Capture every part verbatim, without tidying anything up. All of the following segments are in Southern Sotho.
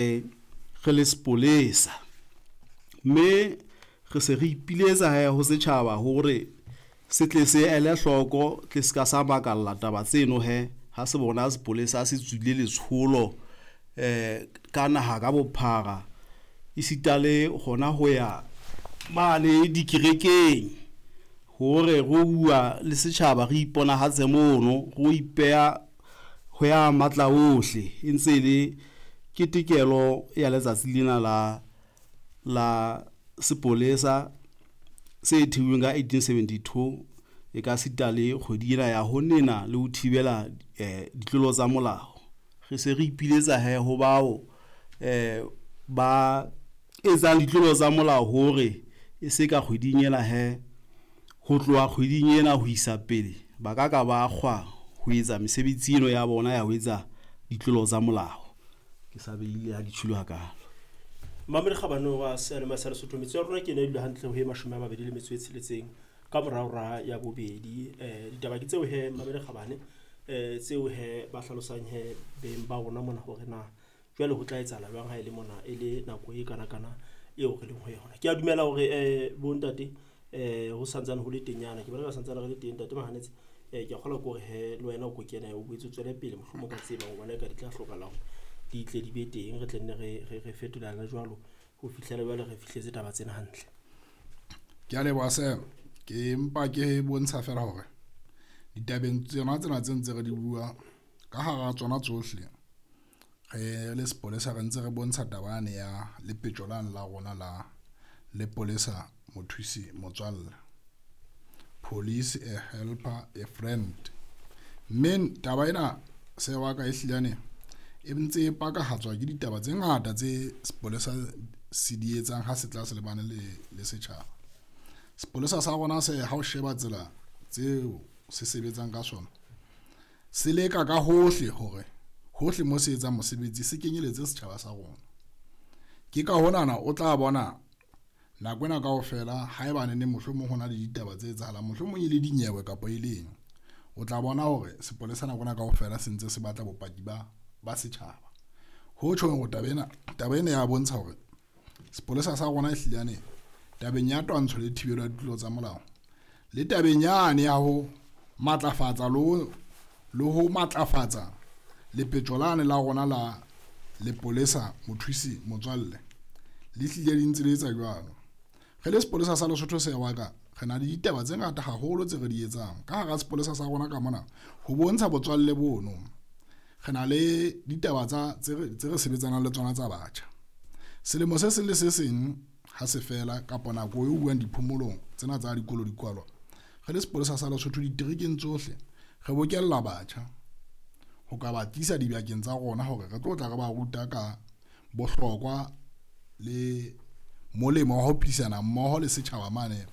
Re le sepolesa, mme re se re ipiletsa hee ho setjhaba hore se tle se ele hloko tle se ka sa makalla taba tseno hee ha se bona sepolesa se tswile letsholo ka naha ka bophara e sita le hona ho ya mane dikerekeng hore ro bua le setjhaba, re iponahatse mono, ro ipeha ho ya matla ohle e ntse e le ketekelo ya letsatsi lena la, la sepolesa se theuweng ka eighteen seventy-two e ka sita le kgwedi ena ya ho nena le ho thibela ditlolo tsa molao. Re se re ipiletsa hee ho bao ba etsang ditlolo tsa molao hore e se ka kgweding ena hee, ho tloha kgweding ena ho isa pele ba ka ka ba kgwa ho etsa mesebetsi eno ya bona ya ho etsa ditlolo tsa molao. Ke sa behile ha di tjholo hakalo. Mamedi Kgabane wa seyalemoya sa Lesotho, metso ya rona ke ena e dula hantle ho e mashome a mabedi le metso e tsheletseng ka mora hora ya bobedi. Eh ditaba ke tseo he Mamedi Kgabane, eh tseo he ba hlalosang he beng ba rona mona hore na jwale ho tla etsahala jwang ha e le mona e le nako e kana kana eo re leng ho yona. Ke a dumela hore eh bontate eh ho santsane ho le teng nyana, ke bona ka santsane re le teng ntate Mahanetse. Eh ke a kgolwa ke hore he le wena o ko kene o boetse o tswele pele mohlomong ka tseba hobane ka di tla hlokahala hore di tle di be teng, re tle nne re, re, re fetolana jwalo ho fihlela jwale re fihletse taba tsena hantle. Ke a leboha Sam, ke mpa ke bontsha fela hore ditabeng tsena tsena tse ntse re di bua ka hara tsona tsohle, re le sepolesa re ntse re bontsha taba yane ya lepetjo lane la rona la lepolesa mothusi motswalle, police a helper a friend. Mme taba ena se wa ka e hlilane e ntse e pakahatswa ke ditaba tse ngata tse sepolesa se di etsang ha se tla se lebane le, le setjhaba. Sepolesa sa rona se ha o sheba tsela tseo se sebetsang ka sona, se leka ka hohle hore hohle mo se etsang mosebetsi se kenyeletse setjhaba sa rona. Ke ka honana o tla bona nako ena kaofela haebane ne mohlomong hona le ditaba tse etsahalang, mohlomong e le dinyewe kapa e leng, o tla bona hore sepolesa nako ena kaofela se ntse se batla bopaki ba, ba setjhaba. Ho tjhong hore taba ena, taba ena ya bontsha hore sepolesa sa rona e hlilane tabeng ya twantsho le thibelo ya ditlolo tsa molao le tabeng yane ya ho matlafatsa le ho, le ho matlafatsa lepetjo lane la rona la lepolesa mothusi motswalle le hlile di ntse le etsa jwalo. Re le sepolesa sa Lesotho se wa ka re na le ditaba tse ngata haholo tse re di etsang ka hara sepolesa sa rona ka mona ho bontsha botswalle bono. Re na le ditaba tsa tse re, tse re sebetsanang le tsona tsa batjha. Selemo se seng le se seng ha se fela kapa nako e buang diphomolong tsena tsa dikolo di kwalwa, re le sepolesa sa Lesotho diterekeng tsohle re bokella batjha ho ka ba tlisa dibakeng tsa rona hore re tlo tla re ba ruta ka bohlokwa le molemo wa ho phedisana mmoho le setjhaba mane,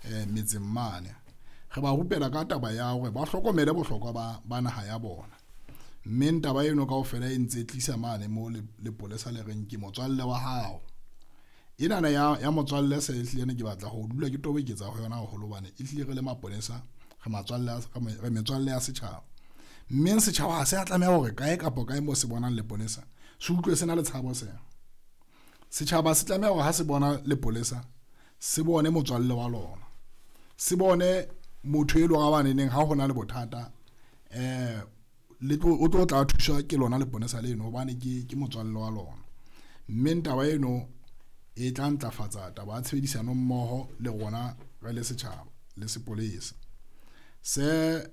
eh, metseng mane. Re ba rupela ka taba ya hore ba hlokomele bohlokwa ba, ba naha ya bona. Mme taba eno kaofela e ntse e tlisa mane mo le, lepolesa le reng ke motswalle wa hao. Enana ya, ya motswalle se ehlile ke batla ho dula ke toboketsa ho yona haholo hobane e hlile re le maponesa re matswalle a, re metswalle ya setjhaba. Mme setjhaba ha se a tlameha hore kae kapa kae mo se bonang leponesa se utlwe se na le tshabo sena. Setjhaba se tlameha hore ha se bona lepolesa se bone motswalle wa lona, se bone motho e leng hore ha baneneng ha hona le bothata, eh, le tlo, o tlo tla thuswa ke lona leponesa leno hobane ke, ke motswalle wa lona. Mme taba eno e tla ntlafatsa taba ya tshebedisano mmoho le rona re le setjhaba le sepolesa. Se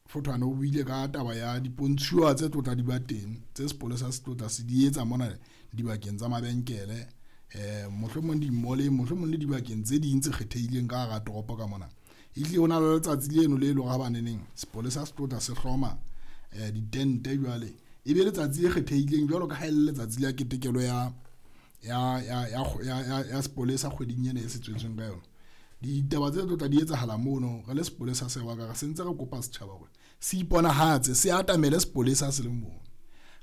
Fothwane o buile ka taba ya dipontshuwa tse tlo tla di ba teng tse sepolesa se tlo tla se di etsa mona dibakeng tsa mabenkele, eh, mohlomong di-mall-eng, mohlomong le dibakeng tse ding tse kgethehileng ka hara toropo ka mona. Ehlile ho na le letsatsi leno le leng hore ha baneneng sepolesa se tlo tla se hloma, eh, ditente jwale e be letsatsi le kgethehileng jwalo ka ha e le letsatsi la ketekelo ya, ya, ya, ya, ya, ya, ya sepolesa kgweding ena e se tswetsweng ka yona. Ditaba tse tlo tla di etsahala mono re le sepolesa se wa ka re sentse re kopa setjhaba hore se iponahatse, se atamele sepolesa se le mono.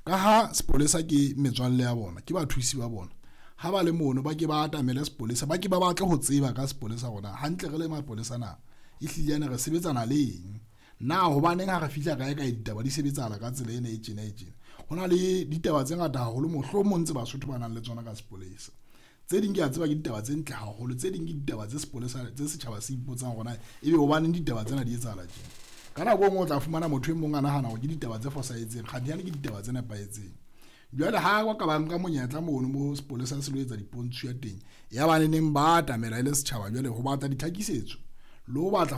Ka ha sepolesa ke metswalle ya bona, ke bathusi ba bona, ha ba le mono ba ke ba atamele sepolesa, ba ke ba batle ho tseba ka sepolesa rona hantle re le mapolesa na ehlile ene re sebetsana le eng, na hobaneng ha re fihla kae kae ditaba di sebetsahala ka tsela ena e tjena e tjena. Ho na le ditaba tse ngata haholo mohlomong tse Basotho ba nang le tsona ka sepolesa. Tse ding ke a tseba ke ditaba tse ntle haholo, tse ding ke ditaba tse sepolesa tse setjhaba se ipotsang hore na ebe hobaneng ditaba tsena di etsahala tje. Ka nako e nngwe o tla fumana motho e mong a nahana hore ke ditaba tse fosahetseng, kganthe ke ditaba tse nepahetseng. Jwale ha ba ka ba nka monyetla mono mo sepolesa se lo etsa dipontsho ya teng, ya ba neneng ba atamela e le setjhaba jwale ho batla ditlhakisetso le ho batla